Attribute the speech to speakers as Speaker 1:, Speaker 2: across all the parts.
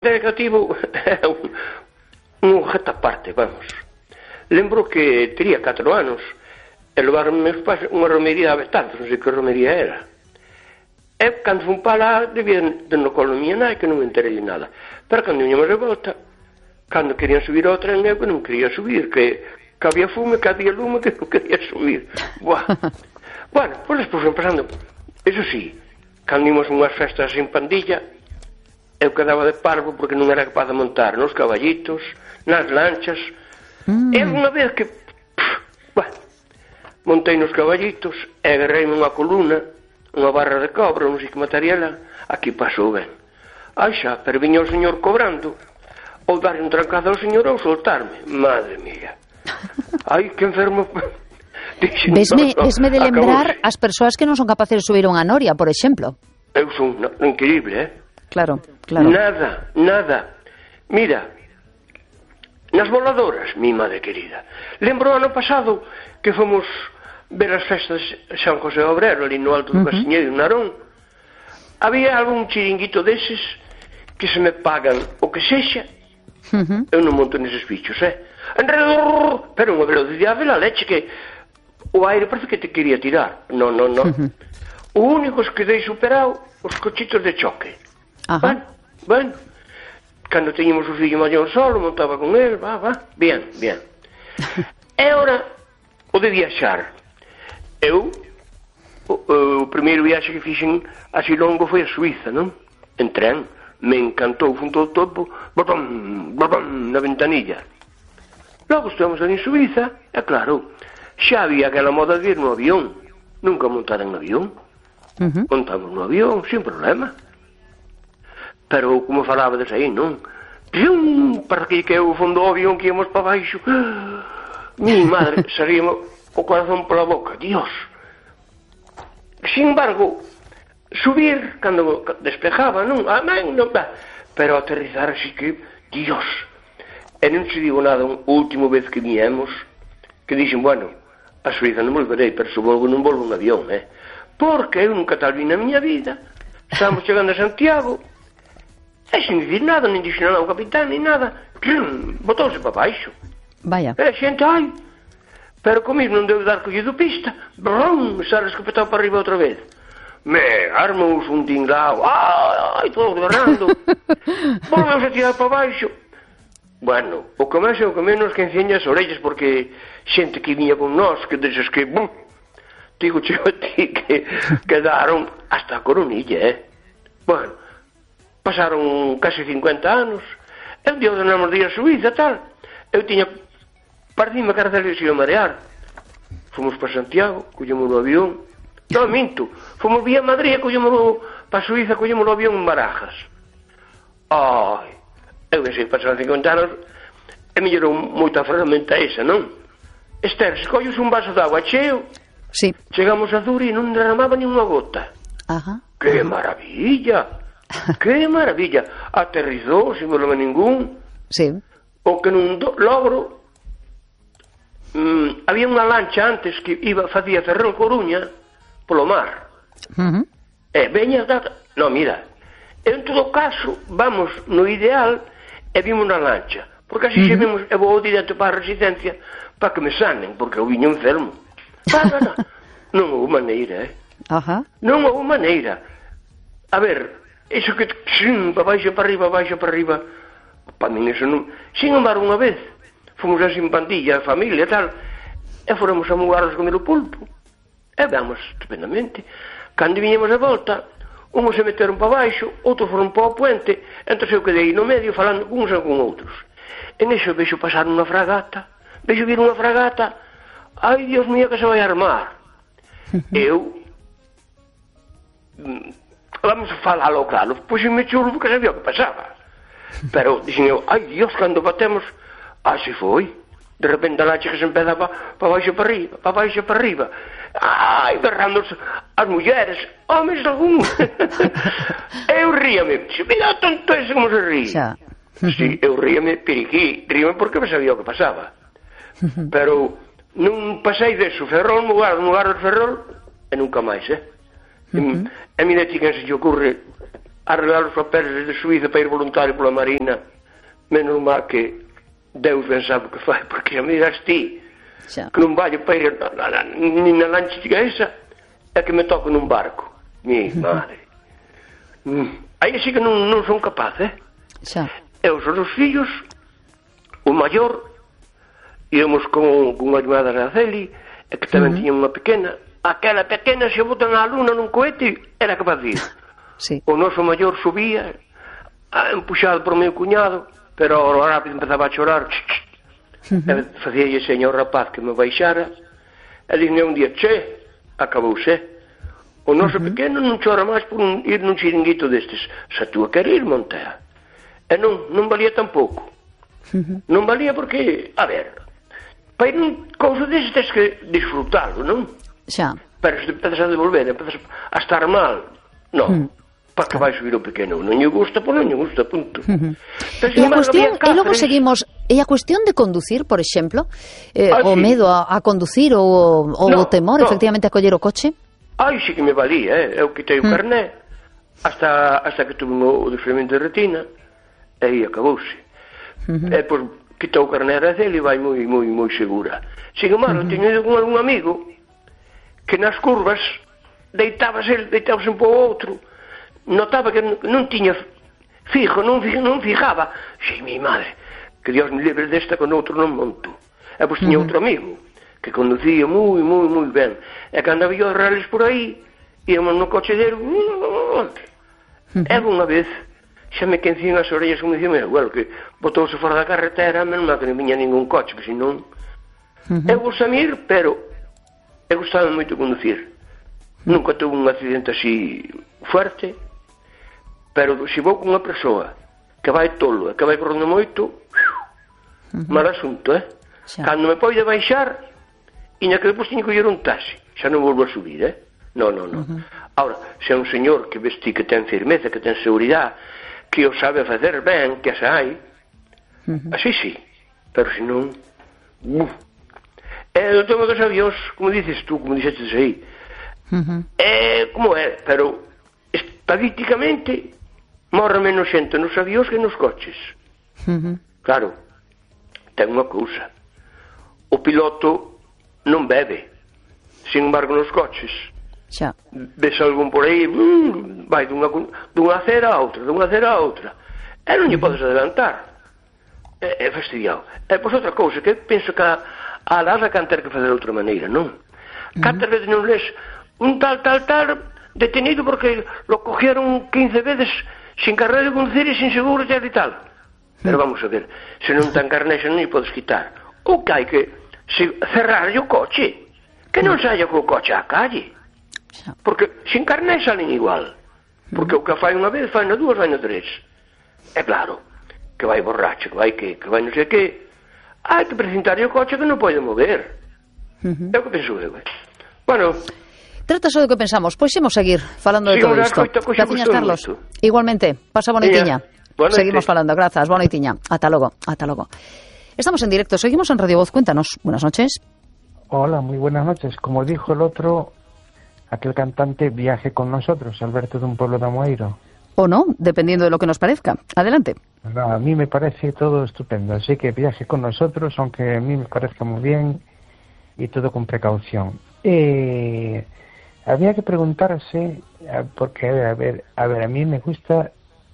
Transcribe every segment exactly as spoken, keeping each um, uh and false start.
Speaker 1: Negativo é un, un objeto aparte, vamos. Lembro que tería catro anos e levaron meus pais unha romería a Betanzos, non sei que romería era. E cando fun para lá, debía de no colo miña nai, que non me enterei de nada. Pero cando viñamos de volta, cando querían subir ao tren, eu que non quería subir, que, que había fume, que había lume, que non quería subir. Buah. Bueno, pois despois fui pasando. Eso sí, cando ímos unhas festas en pandilla, eu quedaba de parvo porque non era capaz de montar nos caballitos, nas lanchas. Mm. E unha vez que pff, bueno, montei nos caballitos e agarrei unha coluna, unha barra de cobra, non sei que material, aquí pasou ben. Ai xa, pero viña o señor cobrando, ou darle un trancado ao señor ou soltarme. Madre mía. Ai, que enfermo.
Speaker 2: Vesme, vesme de lembrar as persoas que non son capaces de subir unha noria, por exemplo.
Speaker 1: Eu son no, increíble, eh?
Speaker 2: Claro, claro.
Speaker 1: Nada, nada. Mira, nas voladoras, mi madre querida. Lembro o ano pasado que fomos ver as festas de San José Obrero, ali no alto do uh -huh. Casiñeiro, en Narón. Había algún chiringuito deses que se me pagan o que sexa. Uh -huh. Eu non monto neses bichos, eh? Enredor, pero unha velocidade la leche que o aire parece que te quería tirar. Non, non, non. Uh -huh. O único es que dei superado os cochitos de choque.
Speaker 2: Ajá.
Speaker 1: Bueno, bueno, cando teñemos o fillo maior solo, montaba con él, va, va, bien, bien. E ora, o de viaxar. Eu, o, o primeiro viaxe que fixen así longo foi a Suiza, non? En tren, me encantou, fun todo topo, botón, botón, na ventanilla. Logo estamos ali en Suiza, e claro, xa había aquela moda de ir no avión. Nunca montar en avión. Uh -huh. Montamos no avión, sin problema. Pero, como falabades aí, non? Pium, para que que o fondo do avión que íamos para baixo. Mi madre, saríamos o corazón pola boca. Dios. Sin embargo, subir, cando despejaba, non? Amén, non va. Pero aterrizar así que, Dios. E non se digo nada, a última vez que viemos, que dixen, bueno, a Suiza non volverei, pero se volvo non volvo un avión, eh? Porque eu nunca tal vi na miña vida. Estamos chegando a Santiago, e sin dicir nada, nin dixo nada ao capitán, nin nada, botouse para baixo.
Speaker 2: Vaya.
Speaker 1: E a xente, ai, pero comigo non deu dar collido pista, brum, xa escopetado para arriba outra vez. Me armos un tinglao, ai, todo derrando, volvemos a tirar para baixo. Bueno, o que máis é o que menos que enseña as orellas, porque xente que viña con nós, que deses que, bum, digo cheo a ti, que quedaron hasta a coronilla, eh. Bueno, pasaron casi cincuenta anos, e un día ordenamos de ir a Suiza, tal, eu tiña, parecime que era de se ia marear. Fomos para Santiago, collemos o avión, non, minto, fomos vía Madrid, collemos para Suiza, collemos o avión en Barajas. Ai, eu pensei que pasaron cincuenta anos, e mellorou moita ferramenta esa, non? Esther, se colles un vaso de agua cheo,
Speaker 2: sí.
Speaker 1: Chegamos a Zuri e non derramaba ni unha gota.
Speaker 2: Ajá.
Speaker 1: Que maravilla! Que maravilla, aterrizou sin problema ningún.
Speaker 2: Sí.
Speaker 1: O que non do, logro mm, había unha lancha antes que iba facía Ferrol Coruña polo mar. Uh -huh. E veña data, no, mira, en todo caso vamos no ideal e vimos na lancha, porque así uh -huh. se vimos, e vou direto para a residencia para que me sanen, porque eu viño enfermo. Para, non, non houve maneira, eh?
Speaker 2: Ajá.
Speaker 1: Non houve maneira. A ver, iso que xin, para baixo, para arriba, baixo, para arriba, para min eso non. Sin embargo, unha vez fomos así en pandilla, a familia e tal, e fóramos a mugarnos comer o pulpo, e vamos estupendamente. Cando viñemos a volta, uns se meteron para baixo, outros foron para o puente, entón eu quedei no medio falando con uns e con outros. En eso vexo pasar unha fragata, vexo vir unha fragata, ai, Dios mío, que se vai armar. Eu vamos a falalo claro, pois me chulo porque sabía o que pasaba, pero dixen eu, ai Dios, cando batemos, así foi, de repente a lancha que se empeza para pa baixo para arriba, para baixo para arriba, ai, berrando as mulleres, homes algún. Eu ríame, mira tonto ese como se ríe. Si, eu ríame, periquí, ríame porque me sabía o que pasaba, pero non pasei deso, Ferrol, mugar, mugar de Ferrol, e nunca máis, eh? Uh -huh. E mira ti que se lle ocurre arreglar os papeles de Suíza para ir voluntario pola Marina. Menos mal que Deus ben sabe o que fai, porque a miras ti xa. Que non vai para ir nin na lancha esa, é que me toco nun barco. Mi madre. Aí sí que non, non son capaz, eh?
Speaker 2: Xa.
Speaker 1: E os outros fillos, o maior, íamos con, con unha irmá da Araceli, e que tamén uh -huh. tiña unha pequena. Aquela pequena, se botan a luna nun cohete, era capaz de ir.
Speaker 2: Sí.
Speaker 1: O noso maior subía, empuxado por meu cuñado, pero ao rápido empezaba a chorar. Uh -huh. Facía lle señor rapaz que me baixara, e dixme un día, che, acabouse. O noso uh -huh. pequeno non chora máis por un, ir nun chiringuito destes. Se tú a querer ir, Montea. E non, non valía tampouco. Uh -huh. Non valía porque, a ver, para ir nun couso destes tens que disfrutalo, non?
Speaker 2: Xa.
Speaker 1: Pero se te empezas a devolver, empezas a estar mal, non. Uh -huh. Para que vai subir o pequeno, non lle gusta, pois non lle gusta, punto. Uh -huh.
Speaker 2: Pero, e a cuestión, e logo seguimos, e a cuestión de conducir, por exemplo, eh, ah, o sí. medo a, a conducir ou o no, temor, no. efectivamente, a coller o coche?
Speaker 1: Ai, sí que me valía, eh? Eu quitei o mm. carné hasta, hasta que tuve o desfriamento de retina e aí acabouse. Uh -huh. E, pois, quitou o carné a Araceli e vai moi, moi, moi segura. Sin embargo, uh -huh. teño ido con algún amigo que nas curvas deitábase, deitábase un pouco outro, notaba que non tiña fijo, non, non fijaba. Xei, mi madre, que Dios me libre desta con outro non monto. E pois tiña uh -huh. outro amigo que conducía moi, moi, moi ben. E cando había os rales por aí, íamos no coche dele, uh -huh. e unha vez, xa me quencían as orellas, como dicía, meu, well, que botouse fora da carretera, menos mal que non viña ningún coche, que senón... Uh -huh. Eu vou samir, pero eu gustaba moito conducir. Uh -huh. Nunca tuve un accidente así fuerte, pero se vou con unha persoa que vai tolo e que vai correndo moito, uh -huh. mal asunto, eh? Xa. Cando me poide baixar, e na que depois tiño que ir un taxi, xa non volvo a subir, eh? Non, non, non. Uh -huh. Ahora, se é un señor que vesti que ten firmeza, que ten seguridade, que o sabe facer ben, que as hai, uh -huh. así sí, pero se non... Uh. E o tema dos avións, como dices tú, como dixestes aí, uh -huh. é como é, pero estadísticamente morre menos xente nos avións que nos coches. Uh -huh. Claro, ten unha cousa. O piloto non bebe. Sin embargo, nos coches xa. Ves algún por aí, uh, vai dunha, dunha acera a outra, dunha acera a outra, e non lle podes adelantar. É, é fastidiado. E pois outra cousa, que penso que a, a Lara can ter que fazer de outra maneira, non? Cantas uh -huh. veces non lees un tal, tal, tal detenido porque lo cogieron quince veces sin carné de conducir e sin seguro e tal. Pero vamos a ver, se non ten carné xa non lle podes quitar. O que hai que se cerrarlle o coche, que non saia co coche á calle, porque sin carné salen igual, porque o que fai unha vez fai na dúas, fai na tres. É claro que vai borracho, que vai que, que vai non sei que, hai que presentarlle o coche que non pode mover. É o que penso eu, eh? Bueno,
Speaker 2: trata só do que pensamos, pois imos seguir falando de todo isto. Graciñas, Carlos. Mucho. Igualmente, pasa bonoitiña. Seguimos falando, grazas, bonoitiña. Ata logo, ata logo. Estamos en directo, seguimos en Radio Voz, cuéntanos. Buenas noches.
Speaker 3: Hola, muy buenas noches. Como dijo el otro, aquel cantante, viaje con nosotros, Alberto de un pueblo de Amoeiro.
Speaker 2: O no, dependiendo de lo que nos parezca. Adelante.
Speaker 3: No, a mí me parece todo estupendo, así que viaje con nosotros, aunque a mí me parezca muy bien y todo con precaución. Eh, había que preguntarse, porque a ver, a ver, a mí me gusta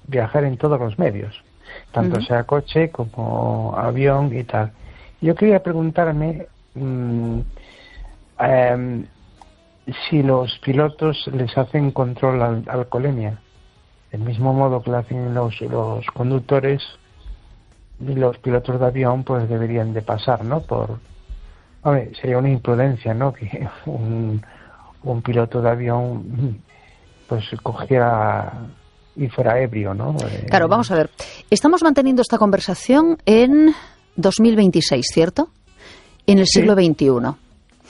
Speaker 3: viajar en todos los medios, tanto uh -huh. sea coche como avión y tal. Yo quería preguntarme mmm, um, si los pilotos les hacen control al alcoholemia, del mismo modo que lo hacen los, los conductores, y los pilotos de avión pues deberían de pasar, ¿no? Por, hombre, sería una imprudencia, ¿no? Que un, un piloto de avión pues cogiera y fuera ebrio, ¿no?
Speaker 2: Claro, vamos a ver. Estamos manteniendo esta conversación en dos mil veintiséis, ¿cierto? En el siglo sí. veintiuno.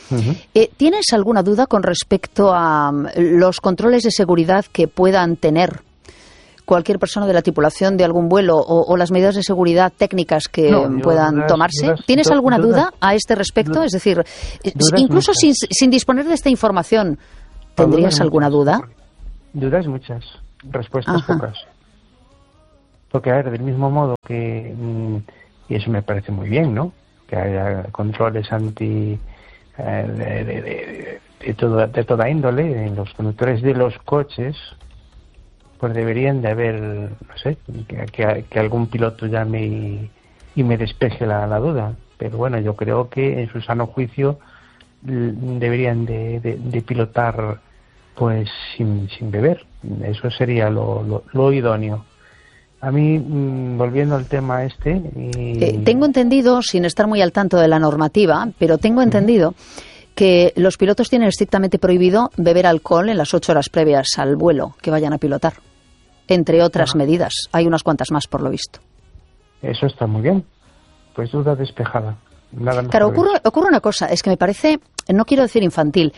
Speaker 2: Uh-huh. eh, ¿Tienes alguna duda con respecto a um, los controles de seguridad que puedan tener cualquier persona de la tripulación de algún vuelo o, o las medidas de seguridad técnicas que no, puedan dudas, tomarse? Dudas, ¿Tienes alguna dudas, duda a este respecto? Dudas, es decir, incluso sin, sin disponer de esta información, ¿tendrías alguna duda?
Speaker 3: Dudas muchas. respuestas
Speaker 2: Ajá.
Speaker 3: pocas. Porque, a ver, del mismo modo que, mmm, y eso me parece muy bien, ¿no?, que haya controles anti eh, de, de, de, de, todo, de toda índole en los conductores de los coches, pues deberían de haber, no sé, que, que, que algún piloto llame y, y me despeje la, la duda. Pero bueno, yo creo que en su sano juicio deberían de, de, de pilotar pues sin, sin beber. Eso sería lo, lo, lo idóneo. A mí, mmm, volviendo al tema este... Y...
Speaker 2: Eh, tengo entendido, sin estar muy al tanto de la normativa, pero tengo entendido uh-huh. que los pilotos tienen estrictamente prohibido beber alcohol en las ocho horas previas al vuelo que vayan a pilotar, entre otras uh-huh. medidas. Hay unas cuantas más, por lo visto.
Speaker 3: Eso está muy bien. Pues duda despejada. Nada más.
Speaker 2: Claro, ocurre, ocurre una cosa, es que me parece, no quiero decir infantil,